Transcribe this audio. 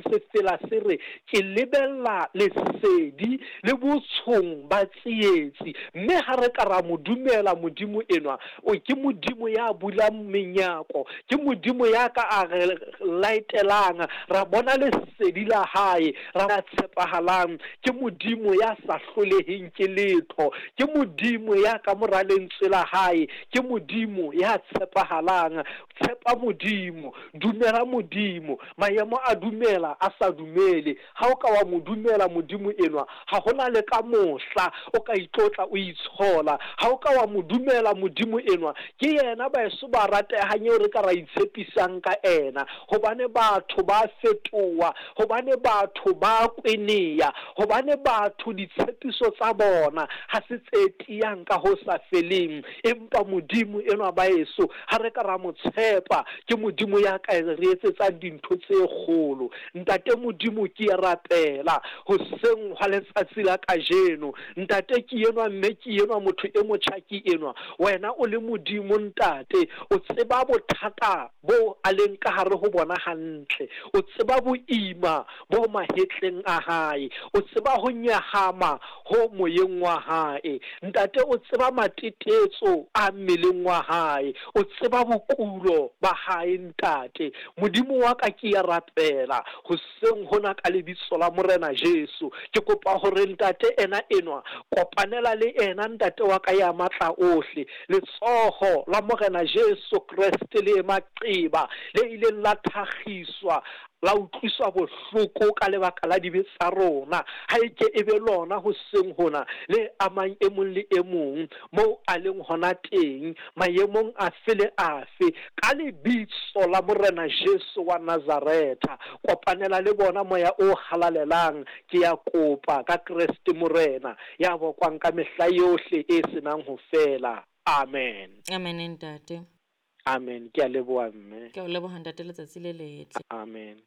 Sefela se re, Ke lebella lesedi le botshong ba tsietsi. Mme ha re ka ra mo dumela Modimo enwa, o ke Modimo ya bulang menyako, ke Modimo ya ka a re laetelang, ra bona lesedi la hae, ra ya tshepahalang, ke Modimo ya sa hloleheng ke letho, ke Modimo ya ka mora lentswe la hae, ke Modimo ya tshepahalang. Tshepa Modimo, dumela Modimo. Maemo a dumela, a sa dumele. Ha o ka wa mo dumela Modimo enwa, ha ho na le ka mohla o ka itlotla o itshola. Ha o ka wa mo dumela Modimo enwa, ke yena baeso ba ratehang eo re ka ra itshepisang ka ena. Hobane batho ba fetoha, hobane batho ba kweneya, hobane batho ditshepiso tsa bona ha se tse tiyang ka ho sa feleng. Empa Modimo enwa baeso, Ha re ka ra mo tshepa, ke Modimo ya ka re etsetsang dintho tse kgolo. Ntate Modimo, ke a rapela hoseng hwa letsatsi la kajeno. Ntate, ke enwa mme ke enwa, motho e motjha ke enwa. Wena o le Modimo, Ntate, o tseba bothata boo a leng ka hare ho bona hantle. O tseba boima bo mahetleng a hae. O tseba ho nyahama ho moyeng wa hae. Ntate o tseba matetetso a mmeleng wa hae. O tseba bokulo ba hae, Ntate. Modimo wa ka, ke a rapela hoseng hona ka Lebitso la Morena Jesu. Ke kopa hore Ntate ena enwa, kopanela le ena, Ntate wa ka ya Matla ohle. Letsoho la Morena Jesu Kreste le maqeba le ileng la thakgiswa la utlwiswa bohloko ka lebaka la dibe tsa rona, ha e ke e be lona hoseng hona le amang e mong le e mong moo a leng hona teng, maemong afe le afe, ka Lebitso la Morena Jesu wa Nazaretha. Kopanela le bona, Moya o Halalelang, ke a kopa, ka Kreste Morena, ya bokwang ka mehla yohle e se nang ho fela. Amen. Amen, ntate. Amen. Ke a leboha, mme. Ke a o leboha, ntate, letsatsi le letle. Amen.